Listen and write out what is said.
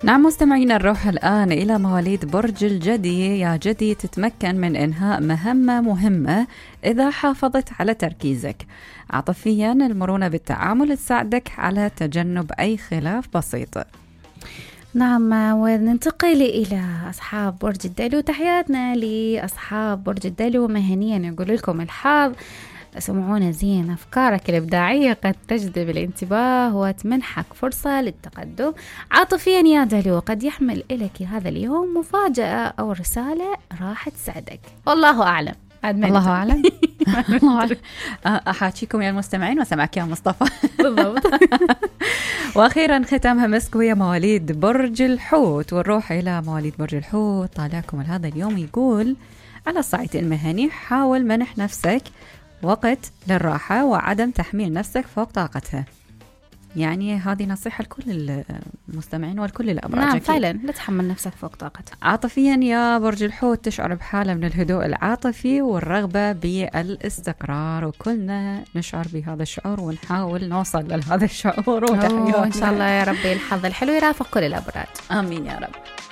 نعم مستمعينا، نروح الآن إلى مواليد برج الجدي. يا جدي، تتمكن من إنهاء مهمة مهمة إذا حافظت على تركيزك. عاطفيا، المرونة بالتعامل تساعدك على تجنب أي خلاف بسيط. نعم، وننتقل إلى أصحاب برج الدلو. تحياتنا لأصحاب برج الدلو. مهنيا يقول لكم الحظ سمعونا زين، أفكارك الإبداعية قد تجذب الانتباه وتمنحك فرصة للتقدم. عاطفيا يا دلو، قد يحمل إليك هذا اليوم مفاجأة أو رسالة راح تسعدك. والله أعلم. الله أعلم. أحاكيكم يا المستمعين وسمعك يا مصطفى. بالضبط. وأخيرا ختامها مسك ويا مواليد برج الحوت. ونروح إلى مواليد برج الحوت. طالعكم هذا اليوم يقول على الصعيد المهني حاول منح نفسك وقت للراحة وعدم تحميل نفسك فوق طاقتها. يعني هذه نصيحة لكل المستمعين ولكل الأبراج. نعم فعلا، لا تحمل نفسك فوق طاقتها. عاطفيا يا برج الحوت، تشعر بحالة من الهدوء العاطفي والرغبة بالاستقرار، وكلنا نشعر بهذا الشعور ونحاول نوصل لهذا الشعور. إن شاء الله يا ربي الحظ الحلو يرافق كل الأبراج. آمين يا رب.